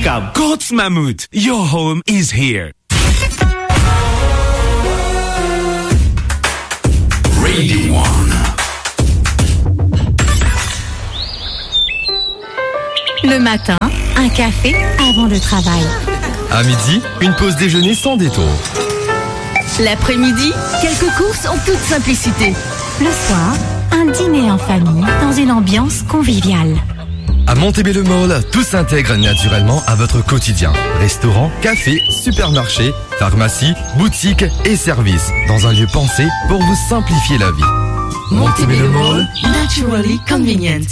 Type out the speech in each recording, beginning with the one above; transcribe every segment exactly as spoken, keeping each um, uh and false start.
Cab Courts Mammouth, your home is here. Radio One. Le matin, un café avant le travail. À midi, une pause déjeuner sans détour. L'après-midi, quelques courses en toute simplicité. Le soir, un dîner en famille dans une ambiance conviviale. À Montebello Mall, tout s'intègre naturellement à votre quotidien. Restaurant, café, supermarché, pharmacie, boutique et services, dans un lieu pensé pour vous simplifier la vie. Montebello Mall, naturally convenient.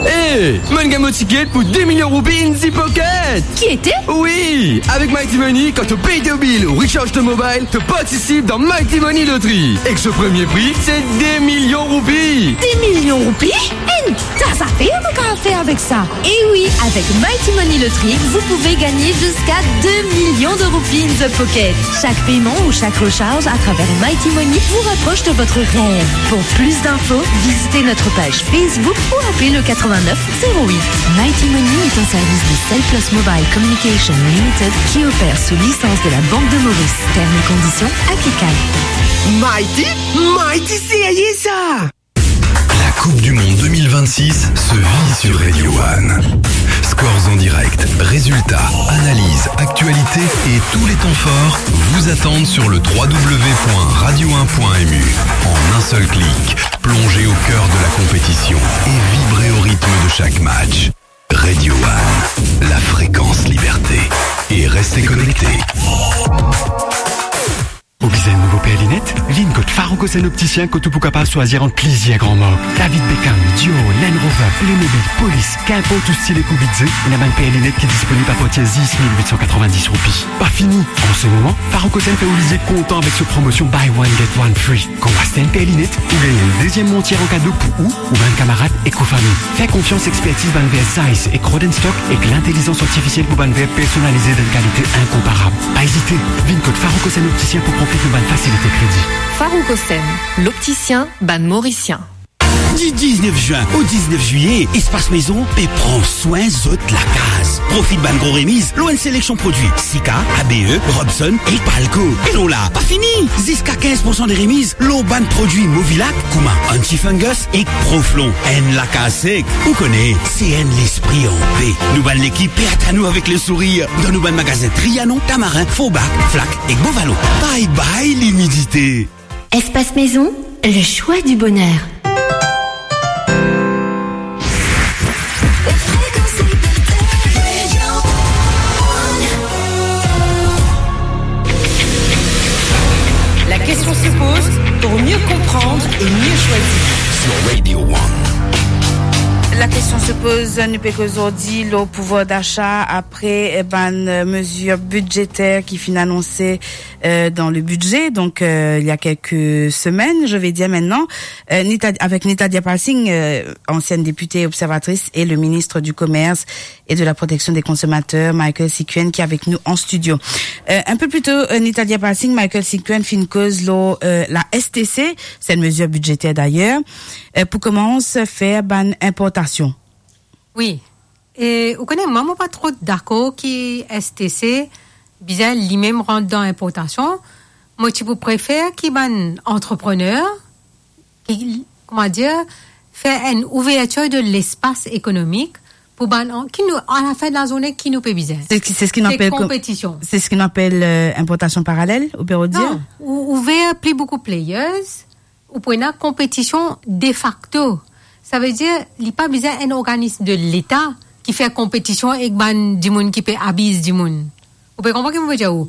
Hey, mo gagn mo tiket pou de milion roupi in the pocket. Ki ete? Wi, avek Mighty Money, kan to pey to bil ou recharge to mobile, to partisip dan Mighty Money Lottery. Ek so premie pri, se de milion roupi. De milion roupi? Enn ta zafer nou kapav fer avek sa. E wi, avec Mighty Money Lottery, vous pouvez gagner jusqu'à deux millions de roupies in the pocket. Chaque paiement ou chaque recharge à travers Mighty Money vous rapproche de votre rêve. Pour plus d'infos, visitez notre page Facebook ou appelez le quatre-vingt-neuf zéro huit. Mighty Money est un service de Cellplus Mobile Communication Limited qui opère sous licence de la Banque de Maurice. Termes et conditions applicables. Mighty, Mighty, sérieux ça! La Coupe du Monde deux mille vingt-six se vit sur Radio One. Scores en direct, résultats, analyses, actualités et tous les temps forts vous attendent sur le trois W point radio un point M U. En un seul clic, plongez au cœur de la compétition et vibrez au rythme de chaque match. Radio One, la fréquence liberté. Et restez connectés. Ou bizin enn nouvo per linet? Vinn kot Farouk Hossein Opticien kot ou pou kapav swazir ant plizier gran mark. David Beckham, Dior, Land Rover, Playmobil, Police, kinport ou stil ek ou bidze, ena bann per linet ki disponib apartir zis mil wit san katrovin-dis roupi. Pa fini! An se moman, Farouk Hossein fer ou lizie kontan avek so promosion Buy One Get One Free. Kan ou aste enn per linet, ou gagn enn deziem montir an kado pou ou ou bann kamarad ek ou fami. Fer konfians expertiz bann ver Zeiss ek Rodenstock ek lintelizans artifisiel pou bann ver personalize dan enn kalite inkonparab. Pa ezite, vinn kot Farouk Hossein Opticien pou profit de bann fasilite kredi. Farouk Hossein, l'opticien bann Morisien. Di diznef zin o diznef zilye, Espace Maison pe pran swin zot lakaz. Profit bann gro remiz lor enn seleksion prodwi, Sika, A B E, Robson ek Palco. E non la, pa fini! Ziska kinz poursan de remiz lor bann prodwi Movilac, kouma Anti-Fungus ek Proflon. Enn lakaz sek, ou kone, se enn lespri anpe. Nou bann lekip pe atann ou avek le sourir dan nou bann magazin Trianon, Tamarin, Forbach, Flac ek Beau Vallon. Bye bye limidite. Espace Maison, le choix du bonheur. La question se pose pour mieux comprendre et mieux choisir. Sur Radio One. La question se pose, nou pe koz zordi lor pouvoir d'achat apre, eh, bann, eh, mezir bidzeter ki finn anonse, eh, dan le bidze, donk, eh, il y a quelques semaines, je vais dire maintenant, eh, Nita-, avec Nitadia Passing, eh, ancienne députée observatrice, et le ministre du Commerce et de la Protection des Consommateurs, Michael Sikuen, qui est avec nous en studio. Euh, un peu plus tôt, euh, Nitadia Passing, Michael Sikuen finn koz lor, euh, la S T C, c'est une mesure budgétaire d'ailleurs, euh, pou koumans fer bann inportasion. Wi. E ou kone, mwa, mo pa tro dakor ki S T C bizin limem rant dan inportasion. Mo ti pou prefer ki bann antreprener ki, kouma dir, fer enn ouvertir de lespas ekonomik pou bann an-, ki nou, a la fin de la zourne, ki nou pe bizin? C'est ce qui, c'est ce qu'on appelle com-, konpetision. C'est ce qu'on appelle, euh, importation parallèle, ou peut dire? Non, ou, ouver pli boukou players, ou pou ena konpetision de facto. Savedir, li pa bizin enn organism de Leta ki fer konpetision ek bann dimoun ki pe abiz dimoun. Ou pe konpran ki mo pe dir ou?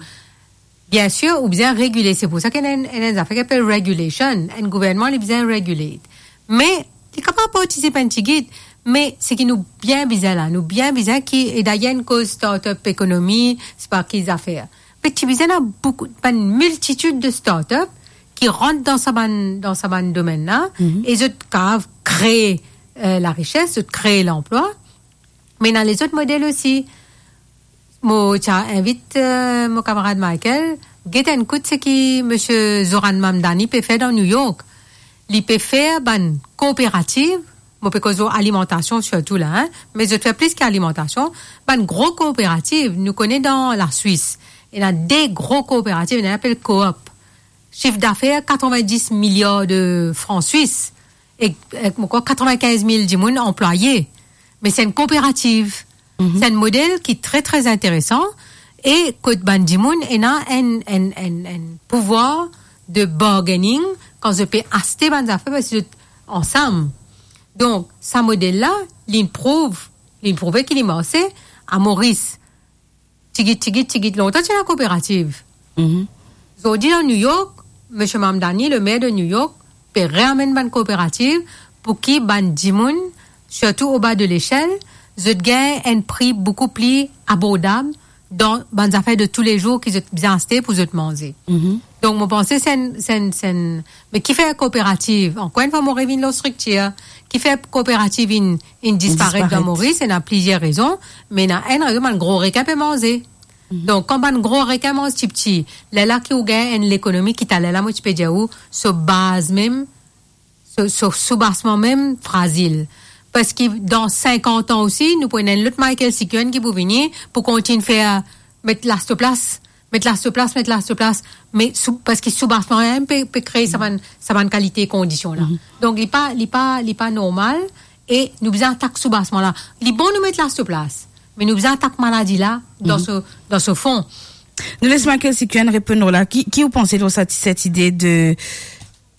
Bien sir, ou bizin regile, se pou sa ki ena enn, enn, enn zafer ki apel regulation, enn gouvernman, li bizin regulate. Me, li kapav partisip enn tigit, me seki nou bien bizin la, nou bien bizin ki, e dayer enn koz startup ekonomi, se pa ki zafer. Me ti bizin ena boukou, bann miltitid de startup ki rant dan sa bann, dan sa bann domenn la, mhm, e zot kapav kree, eh, larises, zot kree lanplwa. Me ena lezot model osi. Mo ti a invit, eh, mo kamarad Michael, get enn kout seki misie Zohran Mamdani pe fer dan New York. Li pe fer bann kooperativ mo pe koz lor alimantasion sirtou la, hein, me zot fer plis ki alimantasion, bann gro kooperativ, nou kone dan Laswis, ena de gro kooperativ, ena apel Coop. Sif dafer katrovin-dis miliar de fran swis, ek, ek ankor katrovin-kinz mil dimoun anplwaye. Me se enn kooperativ. Mhm. Se enn model ki tre, tre interesan e kot bann dimoun ena enn, enn, enn, enn pouvwar de bargaining kan zot pe aste bann zafer, parski zot ansam. Donk, sa model la, li prouv, li prouve ki li marse a Moris. Tigit, tigit, tigit, lontan ti ena kooperativ. Mhm. Zordi, dan New York, Misie Mamdani, le mer de New York, pe reamenn bann kooperativ pou ki bann dimoun, sirtou oba de lesel, zot gagn enn pri boukou pli abordab dan bann zafer de toulezour ki zot bizin aste pou zot manze. Mhm. Donk, mo panse se enn, se enn, se enn, me ki fer kooperativ? Ankor enn fwa, mo revinn lor striktir. Ki fer kooperativ inn, inn disparet dan Moris? Ena plizier rezon, me ena enn rezon, bann gro rekin pe manze. Mhm. Donk, kan bann gro rekin manz tipti, lerla ki ou gagn enn lekonomi ki taler la, mo ti pe dir ou, so baz mem, so, so soubasman mem frazil. Parski dan sinkant an osi, nou pou ena enn lot Michael Sikuen ki pou vini, pou kontign fer, met lasoplas, met lasoplas, met lasoplas, me sou, parski soubasman mem pe, pe kree sa bann, sa bann kalite kondision la. Mhm. Donk, li pa, li pa, li pa normal, e nou bizin atak soubasman la. Li bon nou met lasoplas, me nou bizin atak maladi la dan Mhm. so, dan so fon. Nou les Michael Sikuen reponn nou la. Ki, ki ou panse lor sa, set ide de,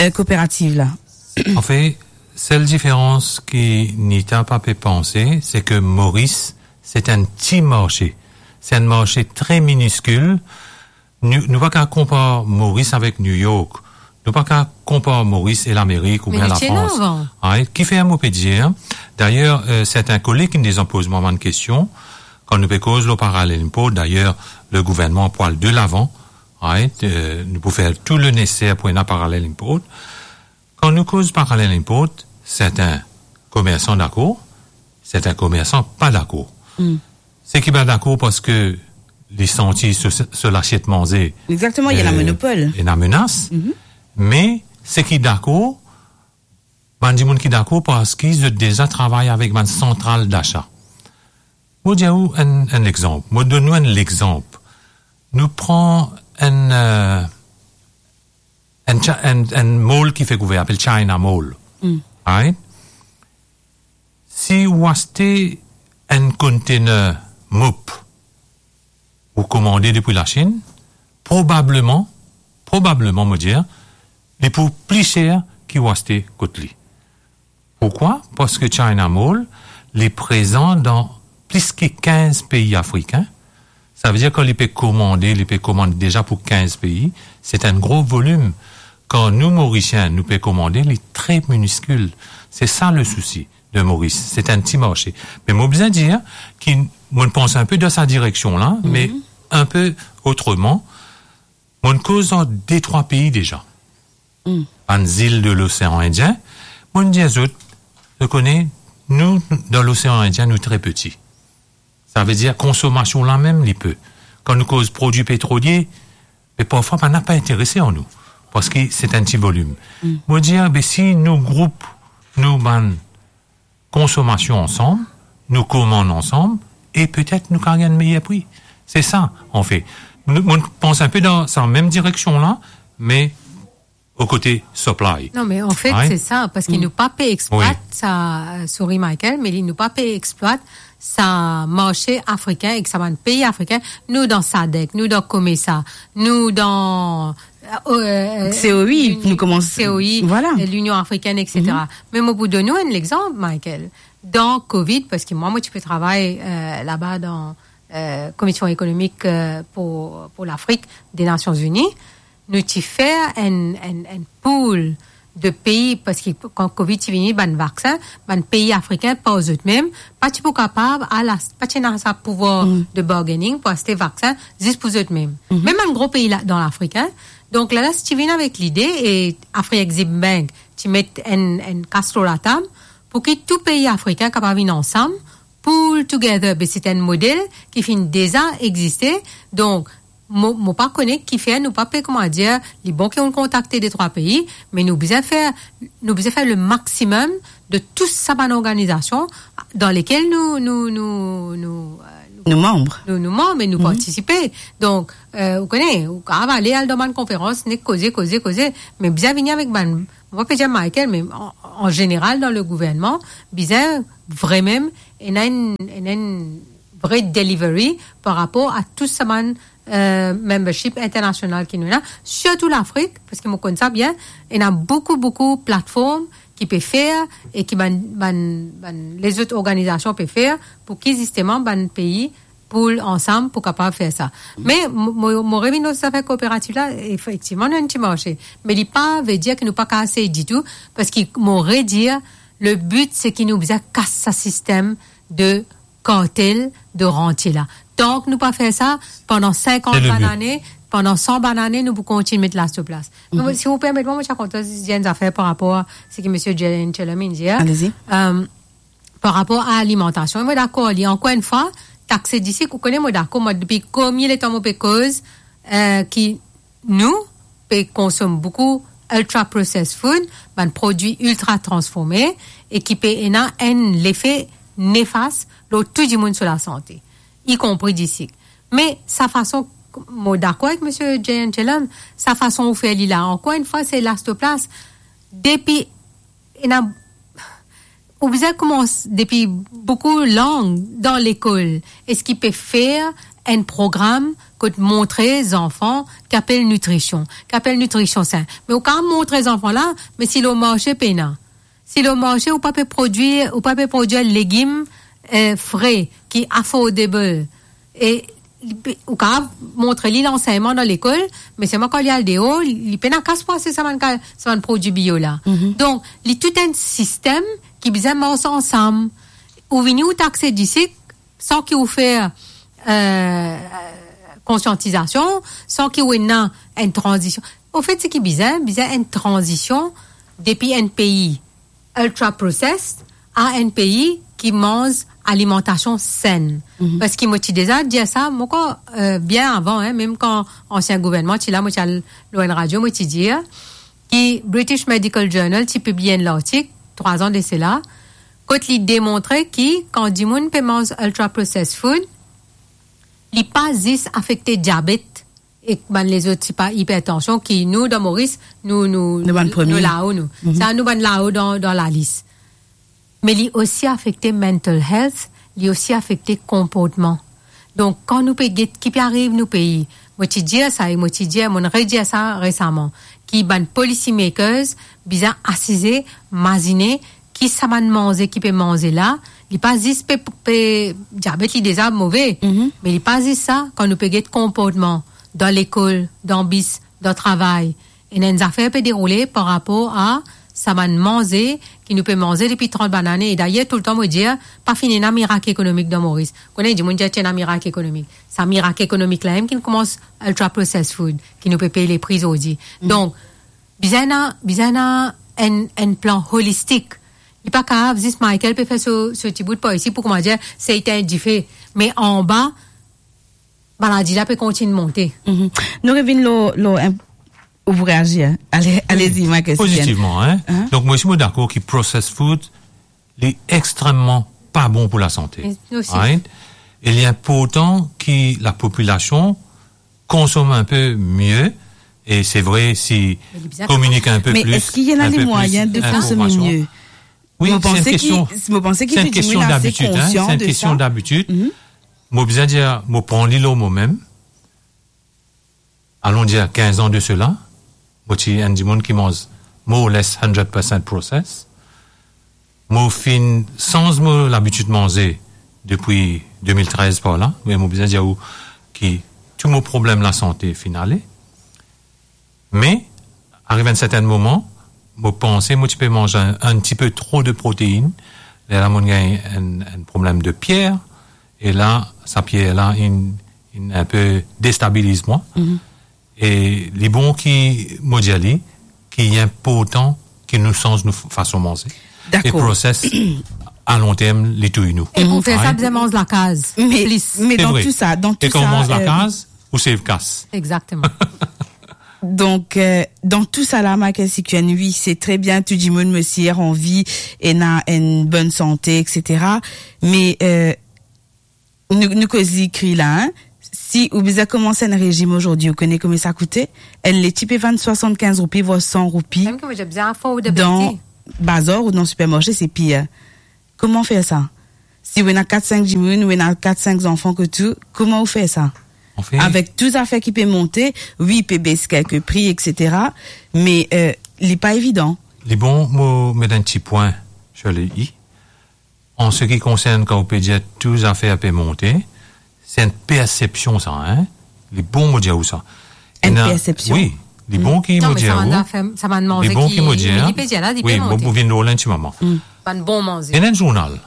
euh, kooperativ la? Anfet, sel diferans ki Nita pa pe panse, se ke Moris, se enn ti marse. Se enn marse tre miniskil. Nou, nou pa kav konpar Moris avek New York. Nou pa kav konpar Moris e Lamerik oubien Lafrans. Right? Kifer mo pe dir. Dayer, euh, sertin koleg inn deza poz mwa bann kestion. Kan nou pe koz lor parallel import, dayer, le gouvernman pou al de lavan. Right? Euh, nou pou fer tou le neseser pou ena parallel import. Kan nou koz parallel import, sertin komersan dakor, sertin komersan pa dakor. Hmm. Seki pa dakor parski li santi so, so lasiet manze, Exactement, il y a la euh, monopole. Ena menas. Mhm. Me seki dakor, bann dimoun ki dakor parski zot deza travay avek bann santral dasa. Mo dir ou enn, enn lexanp. Mo donn ou enn lexanp. Nou pran enn, euh, enn cha-, enn, enn mall ki fek ouver, apel China Mall. Mm. Right? Si ou aste enn container mop, ou komande depi Lasinn, probableman, probableman, mo dir, li pou pli ser ki ou aste kot li. Pourkwa? Parski China Mall, li prezan dan plis ki kinz pei afrikin. Savedir kan li pe komande, li pe komann deza pou kinz pei, se enn gro volim. Kan nou, Morisien, nou pe komande, li tre miniskil. Se sa le sousi de Moris, se enn ti marse. Me mo bizin dir ki mo pans inpe dan sa direksion la, Mhm. me inpe otreman. Mo koz ar de trwa pei deza. Mm. Bann zil de Losean Indien, mo dir zot, zot kone, nou, dan Losean Indien, nou tre piti. Savedir, konsomasion la mem, li pe. Kan nou koz prodwi petrolie, me parfwa, bann la pa interese ar nou, parski se enn ti volim. Mm. Mo dir, be, si nou group nou bann konsomasion ansam, nou komann ansam, e petet nou kav gagn meyer pri. Se sa, anfet. Nou, mo pans inpe dan sa mem direksion la, me o kote supply. Non, me anfet, Right? se sa, parski Mm. nou pa pe eksplwat Wi. sa, euh, sorry, Michael, me li, nou pa pe eksplwat sa marse afrikin ek sa bann pei afrikin, nou dan sadek, nou dan COMESA, nou dan, euh, euh, C O I, l'Uni-, nou koumans, C O I, voilà. euh, Linion Afrikenn, et cetera. Mhm. Me mo pou donn ou enn lexanp, Michael. Dan Covid, parski mwa, mo ti pe travay, euh, laba dan, euh, Komision Ekonomik, euh, pou, pou Lafrik de Nasion Ini, nou ti fer enn, enn, enn pool de pei, parski kan Covid ti vini, bann vaksin, bann pei afrikin par zot mem, pa ti pou kapav al as-, pa ti ena sa pouvwar Mm. de bargaining pou aste vaksin zis pou zot mem. Mhm. Mem bann gro pei la, dan Lafrik, hein. Donk, la, la, si ti vinn avek lide, e Afri-Exim Bank ti met enn, enn kas lor latab, pou ki tou pei afrikin kapav vinn ansam, pool together, be se enn model ki finn deza existe. Donk, mo, mo pa kone kifer nou pa pe, kouma dir, li bon ki nou kontakte de trwa pei, me nou bizin fer, nou bizin fer le maximum de tou sa bann organizasion dan lekel nou, nou, nou, nou, euh, nou, nou manb. Nou, nou manb e nou, mhm, partisipe. Donk, euh, ou kone, ou kapav ale al dan bann konferans, nek koze, koze, koze, me bizin vini avek bann, mo pa pe dir Michael, me an, an zeneral dan le gouvernman, bizin vremem ena enn, ena enn vre delivery par rapor a tou sa bann, euh, membership internasional ki nou ena, sirtou Lafrik, parski mo konn sa bien, ena boukou, boukou platform ki pe fer e ki bann, bann, bann lezot organizasion pe fer pou ki zisteman bann pei poul ansam pou kapav fer sa. Me mo, mo, mo revinn lor zafer kooperativ la, efektivman, nou ena enn ti marse. Me li pa ve dir ki nou pa kapav sey ditou, parski mo redir, le but, se ki nou bizin kas sa sistem de kartel de rantie la. Tank nou pa fer sa, pandan sinkant bann ane, pandan san bann ane, nou pou kontign met la sou plas. Mhm. Me si ou permet mwa, mo ti a kontan dir enn zafer par rapor a seki misie Jay Anselm inn dir. Allez-y. Euh, par rapor a alimantasion, mo dakor li, ankor enn fwa, taxe disik, ou kone mo dakor, mo depi komie letan mo pe koz, euh, ki nou pe konsom boukou ultra processed food, bann prodwi iltra transforme, e ki pe ena enn lefe nefas lor tou dimoun so lasante, ikonpri disik. Me sa fason, mo dakor avek misie Jay Anselm, sa fason ou fer li la, ankor enn fwa, se la sou plas. Depi ena, ou bizin koumans depi boukou lang dan lekol, eski pe fer enn program kot montre zanfan ki apel nitrision, ki apel nitrision sin. Me ou kapav montre zanfan la, me si lor marse pena. Si lor marse ou pa pe prodwir, ou pa pe prodwir legim, euh, fre, ki affordable. E li pe, ou kapav montre li lansegnman dan lekol, me selman kan li al deor, li pena kas pou aste sa bann ka-, sa bann prodwi bio la. Mhm. Donk, li tou enn sistem ki bizin mars ansam. Ou vini, ou taxe disik, san ki ou fer, euh, konsiantizasion, san ki ou ena enn tranzision. Anfet, seki bizin, bizin enn tranzision depi enn pei ultra processed a enn pei ki manz alimantasion sin. Mhm. Parski mo ti deza dir sa, mo krwar, euh, bien avan, hein, mem kan ansien gouvernman ti la, mo ti al lor enn radio, mo ti dir ki British Medical Journal ti pibliye enn lartik, trwa an de sela, kot li demontre ki kan dimoun pe manz ultra processed food, li pa zis afekte diabet, ek bann lezot, tipa ipertansion ki nou, dan Moris, nou, nou, nou bann premie, nou lao, nou. Mhm. Sa, nou bann lao dan, dan lalis. Me li osi afekte mental health, li osi afekte konportman. Donk, kan nou pe get ki pe ariv nou pei, mo ti dir sa, e mo ti dir, mo'nn redir sa resaman, ki bann policy makers bizin asize, mazine, ki sa bann manze ki pe manze la, li pa zis pe, pe diabet li deza move, mhm, me li pa zis sa, kan nou pe get konportman dan lekol, dan bis, dan travay, ena enn zafer pe deroule par rapor a sa bann manze ki nou pe manze depi trant bann ane. E dayer, toultan mo dir, pa finn ena mirak ekonomik dan Moris. Kone dimoun dir ti ena mirak ekonomik. Sa mirak ekonomik la mem ki'nn koumans ultra processed food, ki nou pe pey lepri zordi. Mm. Donk, bizin ena, bizin ena enn, enn plan holistik. Li pa kapav zis Michael pe fer so, so ti bout par isi pou, kouma dir, sey tegn dife. Me anba, maladi la pe kontign monte. Mhm. Nou revinn lor, lor enn, ou pou reazir. Ale, mm, alezi, Michael, pozitivman, hein? Hein? Donk, mwa osi, mo dakor ki processed food, li extrememan pa bon pou lasante. E nou osi. Right? E li inportan ki lapopilasion konsom inpe mie, e se vre, si kominik inpe plis, inpe plis inpormasion. Me li bizin konsom. Me eski ena le mwayin de konsome mie? Wi, se enn kestion, se enn kestion dabitid, hein, se enn kestion dabitid. Mo panse ki, mo panse ki tou dimoun ase konsian de sa. Mhm. Mo bizin dir, mo pran li lor momem. Alon dir kinz an de sela, mo ti enn dimoun ki manz more or less hundred percent processed. Mo finn sanz mo labitid manze depi de mil trez par la, me mo bizin dir ou ki tou mo problem lasante finn ale. Me, ariv enn sertenn moman, mo panse mo ti pe manz enn, enn tipe tro de protein, lerla mo'nn gagn enn, enn problem de pier, e la, sa pier la, inn, inn inpe destabiliz mwa. Mhm. E li bon ki mo dir li, ki inportan ki nou sanz nou f-, fason manze. Dakor. E processed, a long term, li touy nou. E pou fer sa, bizin manz lakaz plis. Me, me dan tou sa, dan tou sa, e kan ou manz lakaz, pou save kas. Exactement. Donc, euh, dans tout ça là, Michael Sikuen, oui, c'est très bien, tout dimoun, mo sir, anvi, ena enn bonn sante, et cetera. Me, euh, nou, nou koz li kri la, hein? Si ou bizin koumans enn rezim azordi, ou kone komie sa koute? Enn leti pe vann swasann-kinz roupi, vwar san roupi. Mem ki mo dir, bizin affordability. Dan bazar ou dan sipermarse, se pir. Kouma fer sa? Si ou ena kat, sink dimoun, ou ena kat, sink zanfan kot ou, kouma ou fer sa? Anfin, avek tou zafer ki pe monte, wi, pe bes kelke pri, et cetera, me, euh, li pa evidan. Li bon, mo met enn ti pwin sur le i. An se ki konsern, kan ou pe dir tou zafer pe monte, se enn persepsion sa, hein? Li bon mo dir ou sa. Enn persepsion? Wi, li bon ki mo dir ou. Non, me sa bann zafer, sa bann manze ki, ki mo dir, me li pe dir la, li pe monte. Wi, mo pou vinn lor la enn ti moman. Bann bon manze. Ena enn zournal.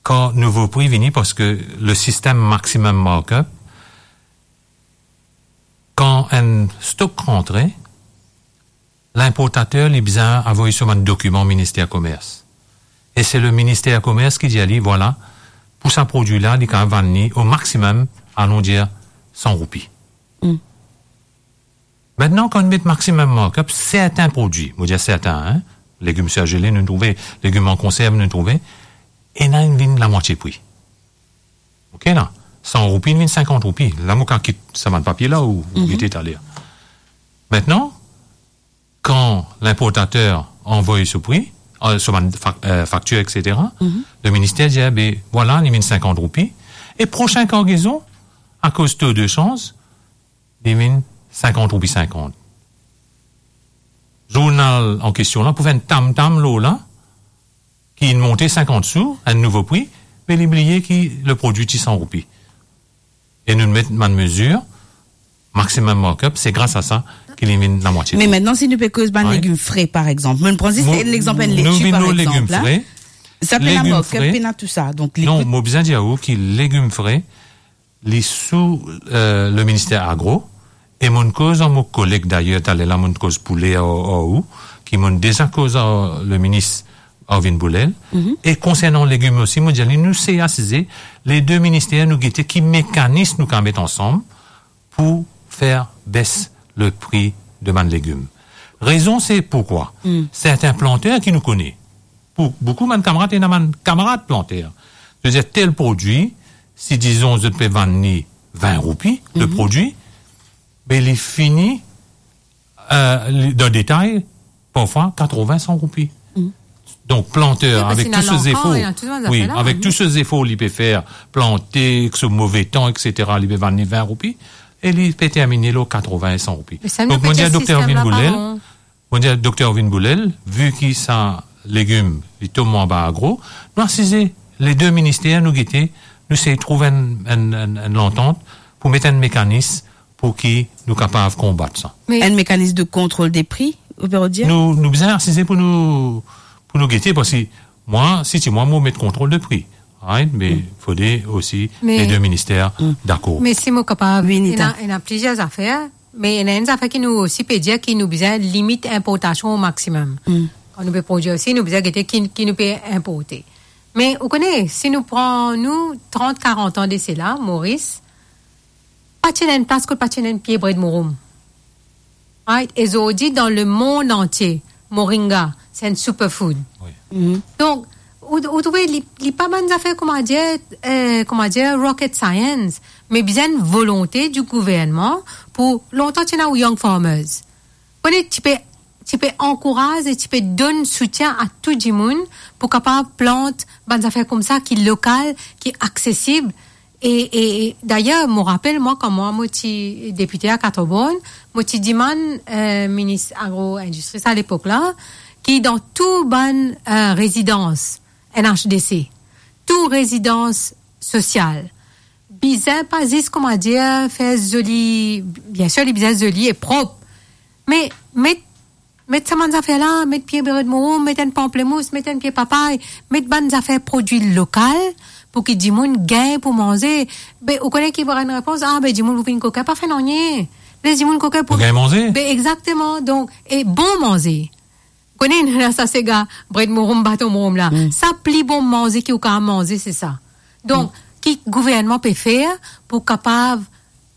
Kan nouvo pri vini, parski le sistem maximum markup, kan enn stok rantre, linportater li bizin avoy so bann dokiman Minister Komers. E se le Minister Komers ki dir li, vwala, pou sa prodwi la, li kapav vann li o maximum, alon dir, san roupi. Mm. Aster, kan nou met maximum markup, sertin prodwi, mo dir sertin, hein, legim surgele, nou trouve, legim an konserv, nou trouve, ena inn vinn lamwatie pri. Ok, la, san roupi, inn vinn sinkant roupi. La, mo kapav kit sa bann papie la, ou, ou gete taler. Aster, kan linportater anvoy so pri, euh, so bann fak-, euh, faktir, et cetera, le minister dir, be, vwala, li vinn sinkant roupi. E prosin kargezon, akoz to de sanz, li vinn sinkant roupi sinkant. Zournal an kestion la pou fer enn tam-tam lor la, ki inn monte sinkant sou, enn nouvo pri, me li bliye ki le prodwi ti san roupi. E nou met bann mezir, maximum markup, se gras a sa ki li vinn lamwatie. Me aster, si nou pe koz bann legim fre, par exanp, mo pran zis legzanp enn leti, par exanp, la. Sa pena markup, pena tou sa. Donk, non, mo bizin dir ou ki legim fre, li sou, euh, le minister agro, e mo'nn koz ar mo koleg, dayer, taler la, mo'nn koz poule ar, ar ou, ki mo'nn deza koz ar le minis Arvin Bourlel. E konsernan legim osi, mo dir li, nou sey asize, le de minister, nou gete ki mekanis nou kapav met ansam pou fer bes le pri de bann legim. Rezon se poukwa sertin planter ki nou kone, pou boukou bann kamarad, ena bann kamarad planter. Vedir tel prodwi, si dizon zot pe vann li vin roupi, le prodwi, be li fini, euh, li, dan detay, parfwa katrovin, san roupi. Donk, planter, avek tou so zefor, wi, avek tou so zefor li pe fer, plante, ek so move tan, et cetera, li pe vann li vin roupi, e li pe termine lor katrovin, san roupi. Donk, mo dir dokter Arvin Bourlel, Mo dir dokter Arvin Bourlel, vi ki sa legim, li tom anba agro, nou asize, le de minister, nou gete, nou sey trouv enn, enn, enn, enn lantant pou met enn mekanis pou ki nou kapav konbat sa. Me enn mekanis de kontrol de pri, ou pe dir? Nou, nou bizin asize pou nou, pou nou gete, parski mwa, si ti mwa, mo met kontrol de pri, right? Me fode osi le de minister dakor. Me si mo kapav, ena, ena plizier zafer. Me ena enn zafer ki nou osi pe dir ki nou bizin limit inportasion o maximum. Kan nou pe prodwir osi, nou bizin gete ki, ki nou pe inporte. Me ou kone, si nou pran nou trant, karant an de sela, Moris, pa ti ena enn plas kot pa ti ena enn pie bred mouroum. Right? E zordi, dan lemond antie, moringa, se enn superfood. Wi. Donk, ou, ou trouve li, li pa bann zafer, kouma dir, eh, kouma dir, rocket science, me bizin volonte di gouvernman pou lontan ti ena ou young farmers. Kone, ti pe, ti pe ankouraz e ti pe donn soutien a tou dimoun pou kapav plant bann zafer koumsa ki lokal, ki aksesib, E, e, e, dayer, mo rapel, mwa, kan mwa, mo ti depite a Quatre-Bornes, mo ti dimann, eh, minis agro-indistri sa lepok la, ki dan tou bann, eh, rezidans N H D C, tou rezidans sosial, bizin pa zis, kouma dir, fer zoli, biensir, li bizin zoli e prop, me met met sa bann zafer la, met pie bred mouroum, met enn panplemous, met enn pie papay, met bann zafer prodwi lokal, pou ki dimoun gagn pou manze. Be, ou kone ki pou rann repons, ah, be, dimoun pou vinn kokin, pa fer nanye. Les dimoun kokin pou gagn manze. Be, exakteman. Donk, e bon manze. Kone, nou ena sa sega, bred mouroum, baton mouroum la. Sa pli bon manze ki ou kapav manze, se sa. Donk, ki gouvernman pe fer pou kapav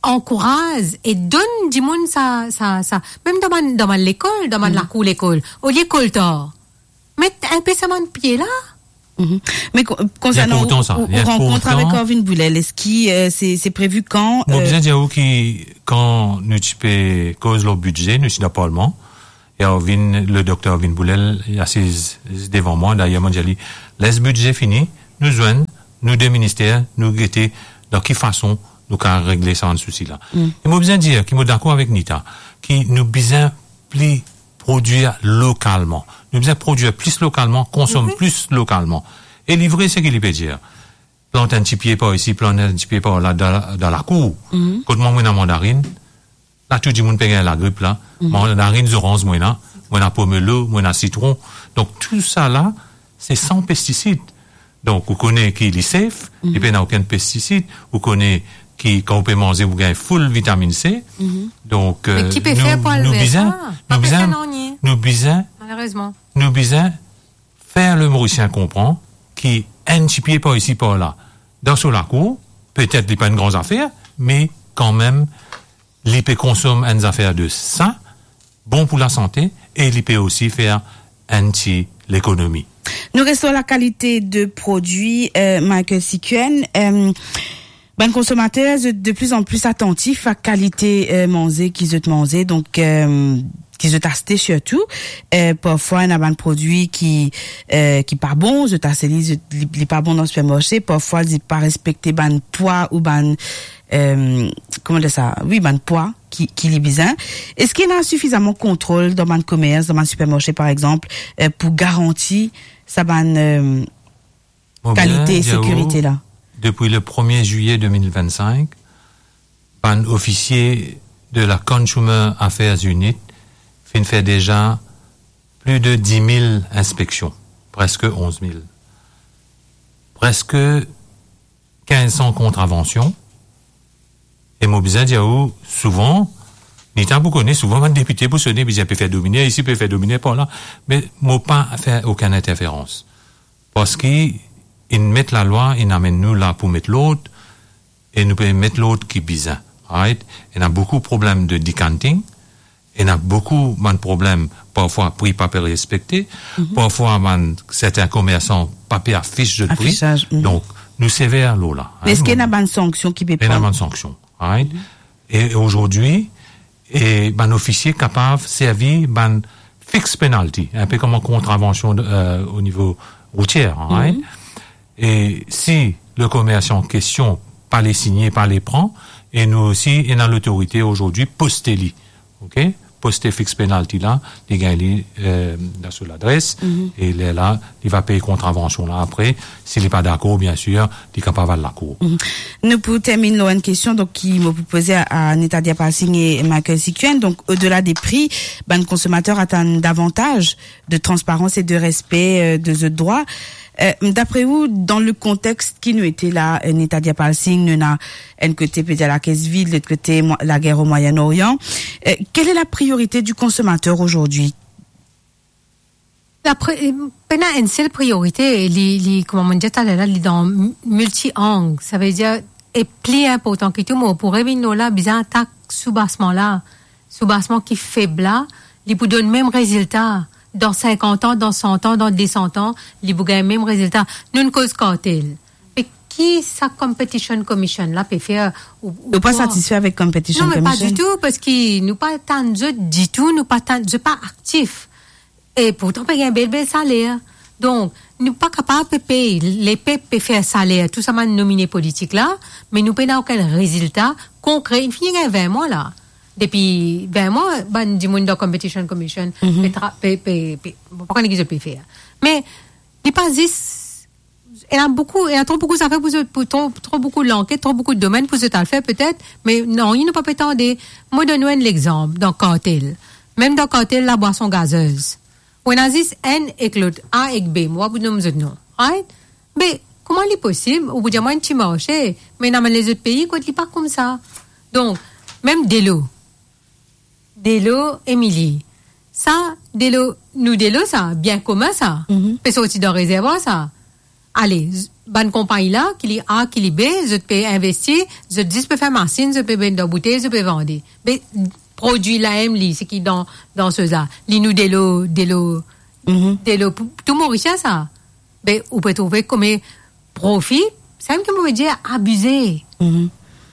ankouraz e donn dimoun sa, sa, sa, mem dan bann, dan bann lekol, dan bann lakour lekol, olie koltar, met inpe sa bann pie la. Mhm. Me ko-, konsernan ou, ou, ou rankont avek Corvin Boulel, eski, euh, se, se previ kan? Mo bizin dir ou ki kan nou ti pe koz lor bidze, nou ti dan parlman, e Arvin, le dokter Arvin Boulel, li asiz devan mwa, dayer mo dir li, les bidze fini, nou zwenn, nou de minister, nou gete dan ki fason nou kapav regle sa bann sousi la. Mm. E mo bizin dir ki mo dakor avek Nita, ki nou bizin pli prodwir lokalman. Nou bizin prodwir plis lokalman, konsom plis lokalman. E li vre seki li pe dir. Plant enn ti pie par isi, plant enn ti pie par la, dan, dan lakour. Mhm. Kot mwa, mo ena mandarinn, la tou dimoun pe gagn lagrip la. Mhm. Mandarinn, zoranz mo ena, mo ena pomelo, mo ena sitron. Donk, tou sa la, se san pestisid. Donk, ou kone ki li safe, mhm, li pena okenn pestisid, ou kone ki kan ou pe manze, ou gagn full vitaminn C. Mhm. Donk, me, euh, ki pe fer pou nou, nou bizin, nou bizin, nou bizin, malerezman, nou bizin fer le Morisien konpran ki enn ti pie par isi, par la, dan so lakour, petet li pa enn gran zafer, me kanmem, li pe konsom enn zafer de sa, bon pou lasante, e li pe osi fer enn ti lekonomi. Nou res lor lakalite de prodwi, euh, Michael Sikuen. Euh, bann konsomater, zot de pli an pli atantif a kalite, euh, manze ki zot manze, donk, euh, ki zot aste sirtou. Euh, parfwa, ena bann prodwi ki, euh, ki pa bon, zot aste li, zot, li, li pa bon dan sipermarse. Parfwa, li pa respekte bann pwa ou bann, euh, kouma dir sa? Wi, bann pwa ki, ki li bizin. Eski ena sifizaman kontrol dan bann komers, dan bann sipermarse, par exanp, euh, pou garanti sa bann, euh, kalite, sekirite la? Mo bien dir ou, depi le premie zilye de mil vennsenk, bann ofisie de la Consumer Affairs Unit finn fer deza pli de dis mil inspeksion, preske onz mil. Preske kinz san kontravansion. E mo bizin dir ou, souvan, Nita pou kone, souvan bann depite pou sone, bizin pe fer domine isi, pe fer domine par la. Me mo pa fer okenn interferans. Parski inn met lalwa, inn amenn nou la pou met lord, e nou pe met lord ki bizin, right? Ena boukou problem de decanting, ena boukou bann problem, parfwa pri pa pe respekte, mhm, parfwa bann sertin komersan pa pe afis zot pri. Afisaz, mhm. Donk, nou sever lor la, hein, eski nou ena bann sanksion ki pe pran? Ena bann sanksion, right? Mhm. E azordi, e bann ofisie kapav servi bann fixed penalty, inpe kouma kontravansion de, euh, o nivo routier, hein, right? Mhm. E si le komersan an kestion pa le signe, pa le pran, e nou osi, ena lotorite azordi poste li, ok? Poste fixed penalty la, li gagn li, euh, dan so ladres, mhm, e lerla, li va pey kontravansion la apre. Si li pa dakor, biensir, li kapav al lakour. Mhm. Nou pou terminn lor enn kestion, donk, ki mo pou poze a, a Nita Deerpalsing e Michael Sikuen. Donk, odela de pri, bann konsomater atann davantaz de transparans e de respe, euh, de zot drwa. Euh, dapre ou, dan le kontext ki nou ete la, euh, Nita Deerpalsing, nou ena enn kote, pe dir, lakees vid, lot kote, mo-, lager o Moyen-Orient, euh, quelle est la priorité du consommateur aujourd'hui? La pri-, pena enn sel priorite, li, li, kouma mo dir taler la, li dan m-, milti-ang. Savedir, e pli inportan ki tou, mo pou revinn lor la, bizin atak soubasman la. Soubasman ki feb la, li pou donn mem rezilta. Dan sinkant an, dan san an, dan de san an, li pou gagn mem rezilta. Nou'nn koz kartel. Me ki sa Competition Commission la pe fer? Ou, ou pa satisfe avek Competition Commission? Non, me pa ditou, parski nou pa tann zot ditou, nou pa tann, zot pa aktif. E pourtan, pe gagn bel, bel saler. Donk, nou pa kapav pe pey, lepep pe fer saler tou sa bann nomine politik la, me nou pena okenn rezilta konkre. Inn fini gagn vin mwa la. Depi vin mwa, bann dimoun dan Competition Commission, mhm, pe tra-, pe, pe, pe, bon, pa kone ki zot pe fer. Me li pa zis, ena boukou, ena tro boukou zafer pou zot, pou tro, tro boukou lanket, tro boukou domenn pou zot al fer petet, me nanye nou pa pe tande. Mo donn ou enn lexanp, dan kartel. Mem dan kartel labwason gazez. Ou ena zis enn ek lot, A ek B, mo pa pou nom zot nom, right? Me kouma li posib, ou pou dir mwa enn ti marse, me ena bann lezot pei kot li pa koumsa. Donk, mem delo. Delo Emili. Sa, delo, nou delo sa, bien komin sa. Mhm. Pe sorti dan rezervwar sa. Ale, z-, bann konpagni la, ki li A, ki li B, zot pe investi, zot zis pe fer masinn, zot pe met dan boutey, zot pe vande. Me prodwi la mem li, seki dan, dan soz la, li nou delo, delo, Mhm. delo pou tou Morisien sa. Me ou pe trouve koumadir profi, sa mem ki mo pe dir abize. Mhm.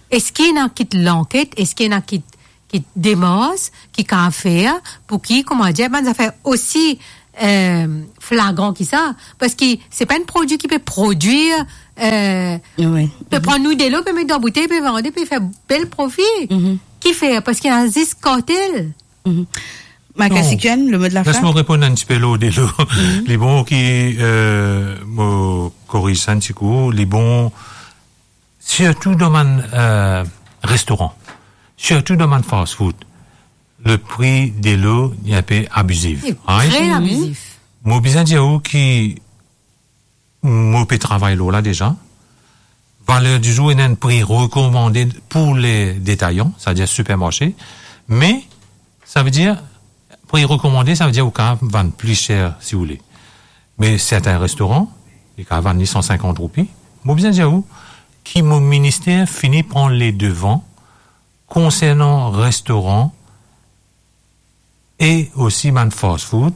Eski ena kit lanket, eski ena kit, kit demars ki kapav fer pou ki, koumadir, bann zafer osi, eh, flagran ki sa? Parski se pa enn prodwi ki pe prodwir, eh, Wi. pe pran nou delo, pe met dan boutey, pe vande, pe fer bel profi. Mhm. Kifer? Parski ena zis kartel. Mhm. Michael Non. Siquenne, le mot de la Les fin? Mo reponn enn tipe lor delo. Mhm. Li bon ki, eh, mo koriz sa enn ti kou. Li bon, sirtou dan bann, eh, restoran, sirtou dan bann fast food, le pri delo li enpe abizif. Li Right? tre abizif. Mo bizin dir ou ki mo pe travay lor la deza. Valer di zour, ena enn pri rekomande pou le detayan, savedir sipermarse. Me, savedir, pri rekomande, savedir ou kapav vann pli ser si ou le. Me sertin restoran, li kapav vann li san sinkant roupi. Mo bizin dir ou ki mo minister fini pran ledevan konsernan restoran e osi bann fast food,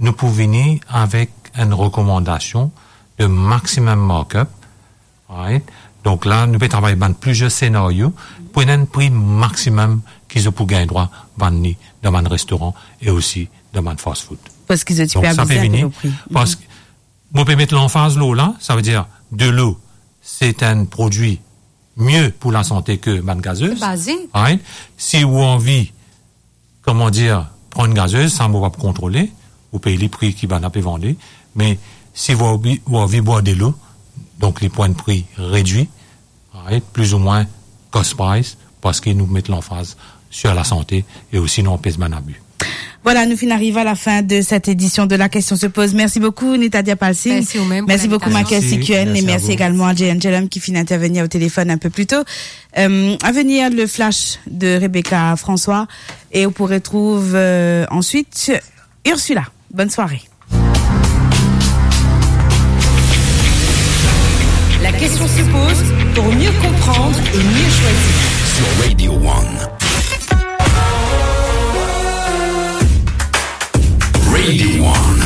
nou pou vini avek enn rekomandasion de maximum markup, right? Donk la, nou pe travay bann plizier senario pou ena enn pri maximum ki zot pou gagn drwa vann li dan bann restoran e osi dan bann fast food. Parski zot ti Donk pe sa pe abize vini, avek lo pri. Parski mo pe met lanfaz lor la, savedir delo, se enn prodwi mie pou lasante ki bann gazez. Baze. Right? Si ou anvi, koman dir, pran enn gazez, sa mo pa pou kontrole, ou pey li pri ki bann la pe vande, me si ou anvi, ou anvi bwar delo, donk li pou enn pri redwi, right? Plizoumwin cost price, parski nou met lanfaz sir lasante e osi nou anpes bann abi. Voilà, nous finissons arriver à la fin de cette édition de La Question se pose. Merci beaucoup, Nitadia Palsing. Merci ou mem pou Merci beaucoup, l'invitation. Michael Merci. Siquenne. Merci Et à merci vous. également à Jay Angelum qui finit intervenir au téléphone un peu plus tôt. Euh, à venir, le flash de Rebecca François. Et on pourrait retrouver, euh, ensuite Ursula. Bonne soirée. La question se pose pour mieux comprendre et mieux choisir. Sur Radio One. Radio One.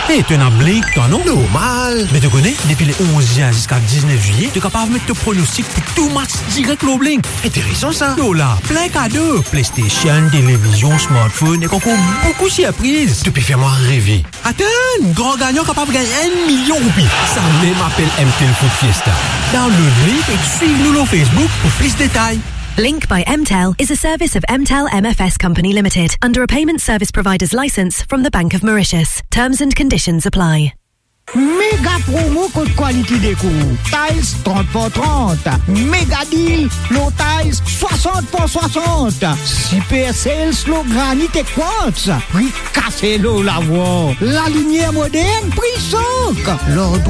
Hey, to ena Blink, twa, non? Normal. Me to kone, depi le onz zin ziska diznef zilye, to kapav met to pronostik pou tou match direk lor Blink. Interesan sa. Lor la, plin kado, PlayStation, televizion, smartphone, ek ankor boukou sirpriz. To pe fer mwa reve. Atann, gran gagnan kapav gagn enn milion roupi. Samem apel M T L Foot Fiesta. Download Blink ek swiv nou lor Facebook pou plis detay. Blink by M T L is a service of M T L M F S Company Limited under a payment service provider's license from the Bank of Mauritius. Terms and conditions apply. Méga promo kot Quality Déco. Tiles trant par trant. Méga deal lor tiles swasant par swasant. Super sales lor granit ek quartz. Pri kase lor lavwar. Lalimier modern, pri sok. Lor